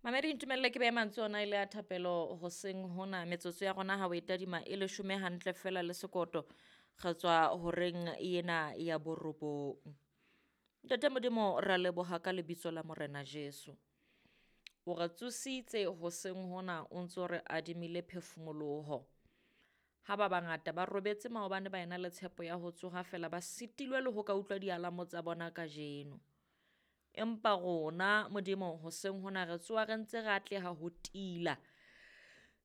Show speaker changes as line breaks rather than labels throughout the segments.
Mamedi, ntumelle ke behe mantswe ona e le a thapelo hoseng hona. Metsotso ya rona ha o e tadima e leshome hantle fela le sekoto, re tswa horeng ena ya borobong. Ntate Modimo, ra leboha ka lebitso la Morena Jesu. O re tsositse hoseng hona, o ntso re adimile phefumoloho. Ha ba bangata ba robetse maobane ba ena le tshepo ya ho tsoha fela, ba sitilwe le ho ka utlwa dialamo tsa bona kajeno. Empa rona Modimo hoseng hona re tsoha re ntse re atleha ho tila.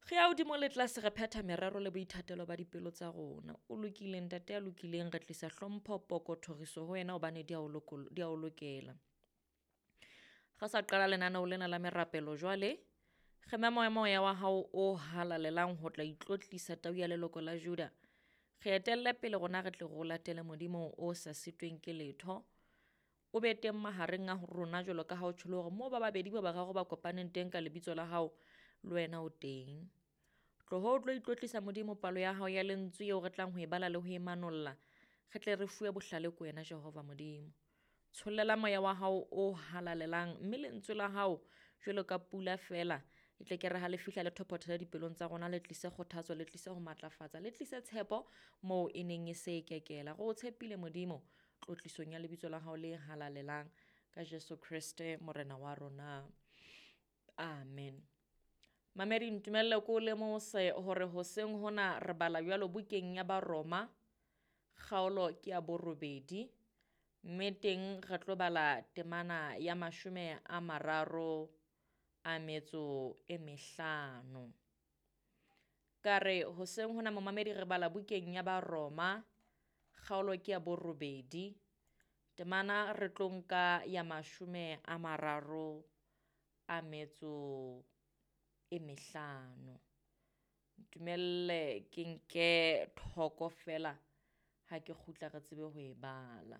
Re ya hodimo le tlase, re phetha merero le boithatelo ba dipelo tsa rona. O lokile ntate ya lokileng, re tlisa hlompho, poko, thoriso ho wena hobane di a o di a o lokela. Re sa qala lenaneo lena la merapelo jwale, re mema moya wa hao o halalelang ho tla itlotlisa tau ya leloko la Juda. Re etelle pele rona re tle re o latele Modimo o sa sitweng ke letho. O be teng mahareng a rona jwalo ka ha o tjholo hore moo ba babedi ba bararo ba kopaneng teng ka lebitso la hao, le wena o teng. Tloho o tlo itlotlisa Modimo palo ya hao ya lentswe eo re tlang ho e bala le ho e manolla, re tle re fuwe bohlale ke wena Jehova Modimo. Tshollela moya wa hao o halalelang, mme lentswe la hao jwalo ka pula fela e tle ke re ha le fihla le thophothele dipelong tsa rona, le tlise kgothatso, le tlise ho matlafatsa, le tlise tshepo moo e neng e se e kekela. Re o tshepile Modimo tlotlisong ya lebitso la hao le halalelang ka Jesu Kreste Morena wa rona. Amen. Mamedi, ntumelle ko o lemose hore hoseng hona re bala jwalo bukeng ya Baroma, kgaolo ke ya borobedi, mme teng re tlo bala temana ya 35. Ka re hoseng hona momamedi re bala bukeng ya Baroma, kgaolo ke ya borobedi, temana re tlo nka ya 35. Ntumelle ke nke thoko fela, ha ke kgutla re tsebe ho e bala.